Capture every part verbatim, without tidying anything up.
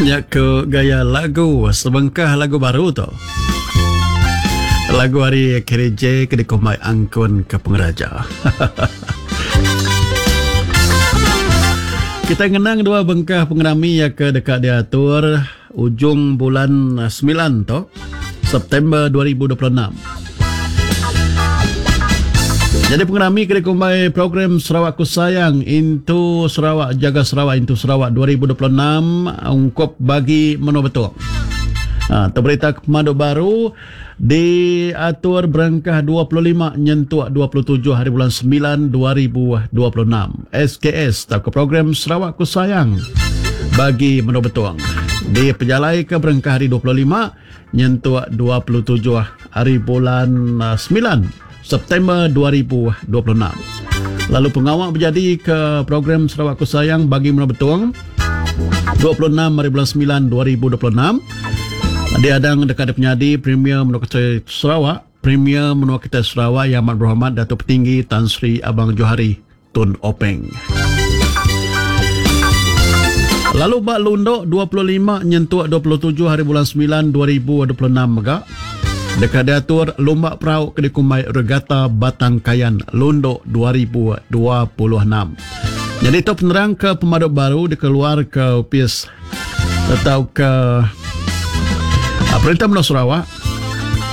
Nya ke gaya lagu sebengkah lagu baru tu. Lagu ari K D J ke dikumbai Angkun ke Pengeraja. Kita ngenang dua bengkah pengerami yang ke dekat diatur ujung bulan sembilan tu, September dua ribu dua puluh enam. Jadi pengerami ke dikumbai program Sarawak Ku Sayang Into Sarawak Jaga Sarawak Into Sarawak dua ribu dua puluh enam ungkup bagi Menua Betong. Ha, terberita pemadu baru diatur berengkah dua puluh lima nyentuk dua puluh tujuh hari bulan sembilan dua ribu dua puluh enam. S K S atau program Sarawak Ku Sayang bagi Menua Betong. Di pejalai ke berengkah hari dua puluh lima nyentuk dua puluh tujuh hari bulan sembilan September dua ribu dua puluh enam. Lalu pengawal berjadi ke program Sarawak Ku Sayang bagi Menua Betong dua puluh enam hari bulan sembilan dua ribu dua puluh enam. Diadang dekat penyadi Premier Menua Kita Sarawak, Premier Menua Kita Sarawak Yang Amat Berhormat Datuk Petinggi Tan Sri Abang Johari Tun Openg. Lalu bak Lundok dua puluh lima nyentuk dua puluh tujuh hari bulan sembilan dua ribu dua puluh enam megak. Dekat diatur Lumba Perahu ke dikumbai Regata Batang Kayan Lundok dua ribu dua puluh enam. Jadi itu penerang ke pemaduk baru dikeluar ke P I S atau ke Perintah Menua Sarawak.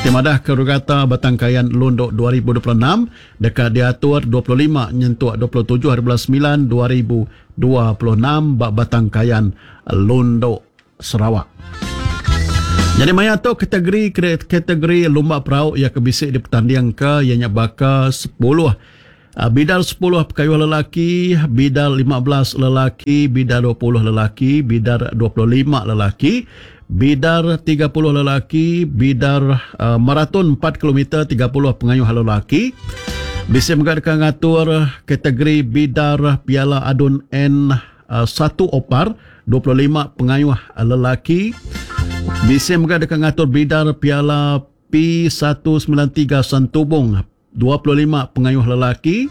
Timadah ke Regata Batang Kayan Lundok dua ribu dua puluh enam dekat diatur dua puluh lima nyentuk dua puluh tujuh hari bulan sembilan dua ribu dua puluh enam bak Batang Kayan Lundok Sarawak. Jadi maya tu kategori kategori lumba perahu yang kebisik di pertandingan ke ianya bakal sepuluh. Bidar sepuluh pekayuh lelaki, bidar lima belas lelaki, bidar dua puluh lelaki, bidar dua puluh lima lelaki, bidar tiga puluh lelaki, bidar uh, maraton empat kilometer tiga puluh pengayuh lelaki. Bisa mengadakan ngatur kategori bidar Piala Adun N satu Opar dua puluh lima pengayuh lelaki. Bisa mengadakan ngatur bidar Piala P satu sembilan tiga Santubong dua puluh lima pengayuh lelaki.